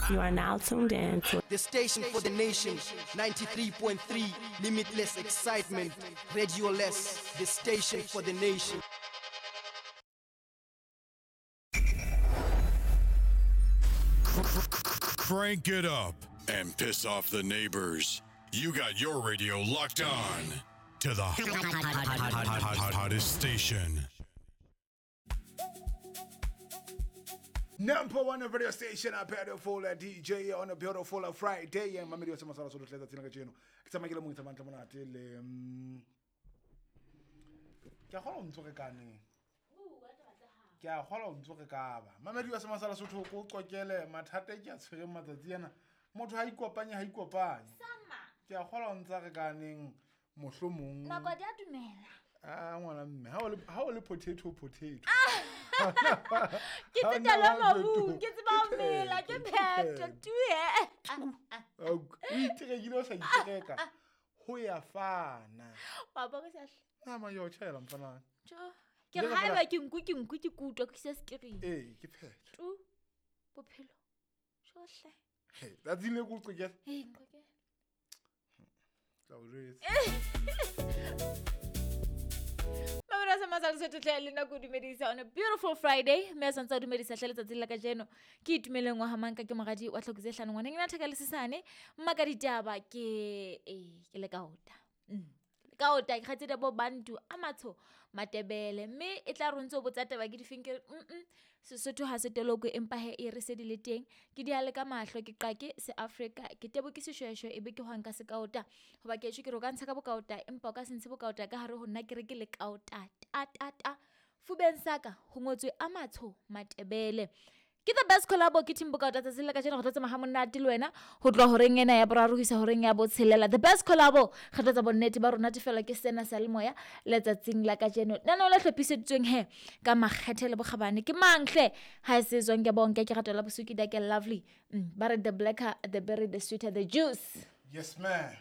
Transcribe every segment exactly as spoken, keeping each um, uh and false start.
You are now tuned in to the station for the nation, ninety-three point three, limitless excitement, Radio Less, the station for the nation. Crank it up and piss off the neighbors. You got your radio locked on to the hottest station. Number one radio station, a beautiful D J on a beautiful Friday. And Mamedi wa masala solo tletsa tsena ka tjeno. Ke tsamaya ke le mong tsamaya monate le ke a kgolwa o ntso re kaneng. Ke a kgolwa o ntso re ka ba. Mamedi wa masala sotho ko qokele mathata ke a tshwereng matsatsi ana. Motho ha ikopanye ha ikopanye. Ke a kgolwa o ntsa re kaneng mohlomong. Nako di a dumela. Ah ngwana mme ha o le ha o le potato potato. Ke tsetela mabung, ke tseba ho mela, ke phetho tue. O iterekile o sa itereka. Ho ya fana. Wa bona se hle. Nama yo tshela mfana. Tjo. Ke re haeba ke nku ke nku ke kutwa ke se screen. Eh, ke phetho. Tu. Bophelo. Tjohle. Hey, that's ile go qekela. Eh, nqokela. Tla o jwetsa. On a beautiful Friday, mme a santse a dumedisa hle letsatsing la kajeno. Ke itumeleng wa hamanka ke moradi wa tlhoko tse hlano ngwaneng ena thaka le sesane mma ka ditaba ke eh ke le kaota. Mm. Kaota ke kgatsedi bo bantu a matsho matebele mme e tla re ntse o botsa taba ke difeng ke mm Sesotho ha se toloko empa he e re se di le teng ke di hale ka mahlo ke qake se Africa ke tebo ke seshweshwe ebe ke hwanka se kaota hoba ke tjho ke re o ka ntsha ka bokaota empa o ka se ntshe bokaota ka hare ho nna ke re ke le kaota ta ta ta fubeng saka ho ngotswe a matsho matebele. Ke the best collabo ke team bokaota tsatsi la kajeno go tla tsamaya monate le wena ho tloha horeng ena ya boraro ho isa horeng ya botshelela. The best collabo re tla tsa bonnete ba rona tefela ke sena sa le moya letsatsing la kajeno. Nana o la hlophiseditsweng he ka makgethe le bokgabane ke manghle ha se tswang ke bonke ke ratola bosuki da ke lovely. Mm, ba re the blacker the berry the sweeter the juice. Yes ma'am.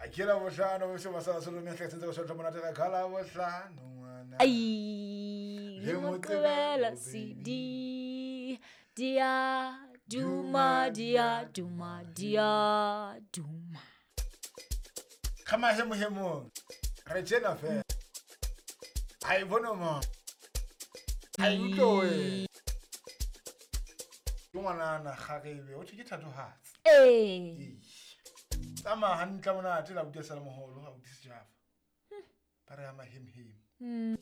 Akela bohlano bo se masala solo mehle tsentse go shotla monate ka khala bohlano ngwana. Ai le moqebela C D dia duma dia duma dia duma. Kama hemo hemo. Re tjena fe. Ai bono mo. Ai utloe. Ke ngwana na kgarebe o thwe ke thatohatsi. Eh. Tsamaya hantle monate la utlwa sala moholo ha utlwe sejava. Ba re ama hem hem. Mm.